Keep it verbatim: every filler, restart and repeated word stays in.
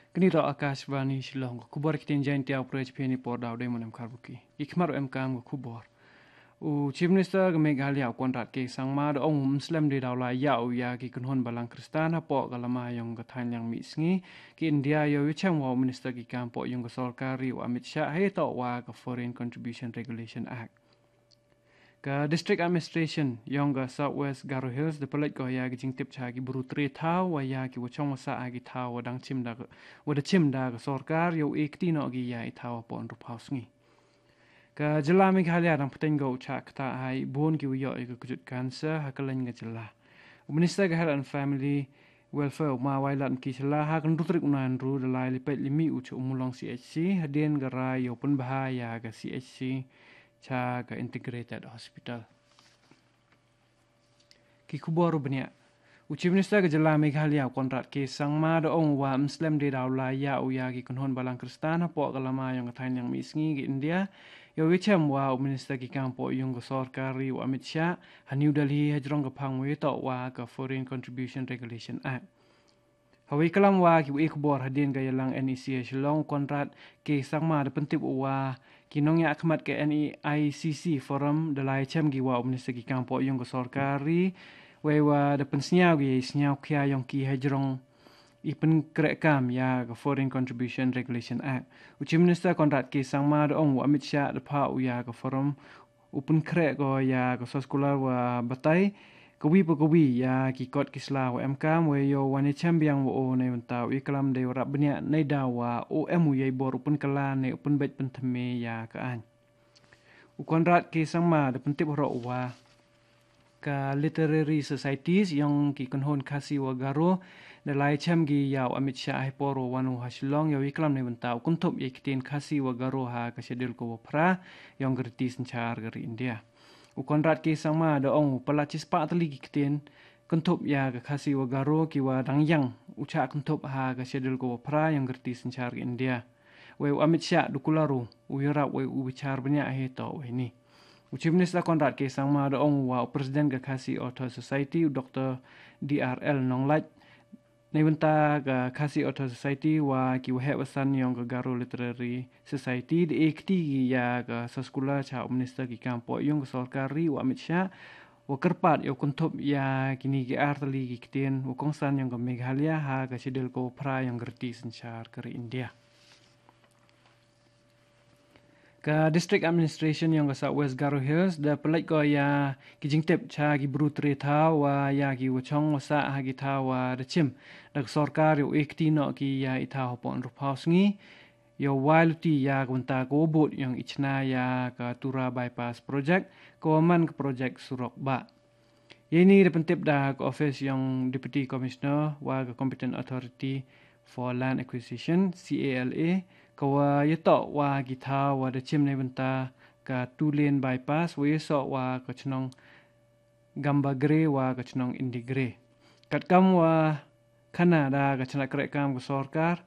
Kani toh Akashvani Shillong, ka khubor ktien Jaiñtia u pyrshah phi ni por daw dei mon em khar buki. Ki khmat em kam ka khubor. U Chief Minister ka Meghalaya u Conrad K Sangma da ong um slem dei daw la ïa u ïa ki kynhun balang Khristan hapoh ka lama yong ka thaiñ liang mih sngi ki India, ïoh ïa chem wa u Minister ki kam poh yong ka sorkar ri u Amit Shah hei toh wa ka Foreign Contribution Regulation Act. Ka District Administration yong ka South West Garo Hills da pynlait ko ïa ki jingtip cha ki bru tre thaw wa ïa ki wa chong wa sah ha ki thaw wa dang chim da ka, wa da chim da ka sorkar ïoh e kti noh ki ïa i thaw wa pon rup haus ngi. Ka jylla Meghalaya dang pateng go u chah kata hai bun ki wa ïoh ïa ka kujut cancer ha ka leng ka jylla. U Minister ka Health and Family Welfare u ma Wailadmiki Shylla ha ka nrutrik u nan ru da lai lipet limi u cha u Mulong C H C hadien ka rai ïoh pynbha ïa ka C H C cha ka Integrated Hospital. Ki khubor u bniah. U Chief Minister ka jylla Meghalaya u Conrad K Sangma da ong wa mslem de daw la ïa u ïa ki kynhun balang Khristan hapoh ka lama yong ka thaiñ liang mih sngi ki India. Ïoh ïa chem wa u Minister ki kam poh yong ka sorkar ri u Amit Shah ha New Delhi ha jrong ka phang wa ïa toh wa ka Foreign Contribution Regulation Act. Hawei kalam wa ki wa e khubor hadien ka ïalang N E C ha Shillong u Conrad K Sangma da pyntip u wa ki nongïah khmat ka N E I C C forum da lai chem ki wa u Minister ki kam poh yong ka sorkar ri. Wei wa da pynsngiaw ki ïa i sngiaw khia yong ki ha jrong i pynkreh kam ïa ka Foreign Contribution Regulation Act. U Chief Minister Conrad K Sangma da ong u Amit Shah da pha u ïa ka forum u pynkreh ko ïa ka soskular wa batai ka wi pa ka wi ïa ki kot ki sla wa em kam wei ïoh wan ïa chem biang wa o nei mynta u i kalam dei wa rap bniah nei daw wa o em u ïa i bor u pynkylla nei u pynbeit pynthymme ïa ka aiñ. U Conrad K Sangma da pyntip hroh u wa ka literary societies yong ki kynhun Khasi wa Garo da lai chem ki ïa u Amit Shah hei por wa wan u ha Shillong ïa u i kalam nei mynta u kynthup ïa ki ktien Khasi wa Garo ha ka schedule ko wa phra yong ka riti synchar ka ri India. U Conrad K Sangma da ong u palat chispah tylli ki ktien kynthup ïa ka Khasi wa Garo ki wa dang ïang u chah kynthup ha ka schedule ko wa phra yong ka riti synchar ka India. Wei u Amit Shah du kular u u ïarap wei u bichar bniah hei toh wei ni. U Chief Minister Conrad K Sangma da ong u wa u President ka Khasi Author Society u Doctor D R L Nonglait nei bynta ka Khasi Author Society wa ki waheh wasan yong ka Garo Literary Society da e kti ki ïa ka soskular cha u Minister ki kam poh yong ka sorkar ri u Amit Shah wa kyrpad ïa u kynthup ïa kini ki ar tylli ki ktien wa kongsan yong ka Meghalaya ha ka schedule ko wa phra yong ka riti synchar ka ri India. Ka District Administration yong ka South West Garo Hills da pynlait ko ïa ki jingtip cha ki bru tre thaw wa ïa ki wa chong wa sah ha ki thaw wa da chim da ka sorkar ïa u e kti noh ki ïa i thaw hapoh rup haus ngi ïa wai luti ïa ka bynta ka wa bud yong i chna ïa ka Tura Bypass Project ka wa man ka project surok bah. Ïa ini da pyntip da ka office yong Deputy Commissioner wa ka Competent Authority for Land Acquisition, C A L A, ka wa ïa toh wa ki thaw wa da chim nei bynta ka two lane bypass wa ïa soh wa ka chnong Gambagre wa ka chnong Indigre. Katkam wa khana da ka chnat kreh kam ka sorkar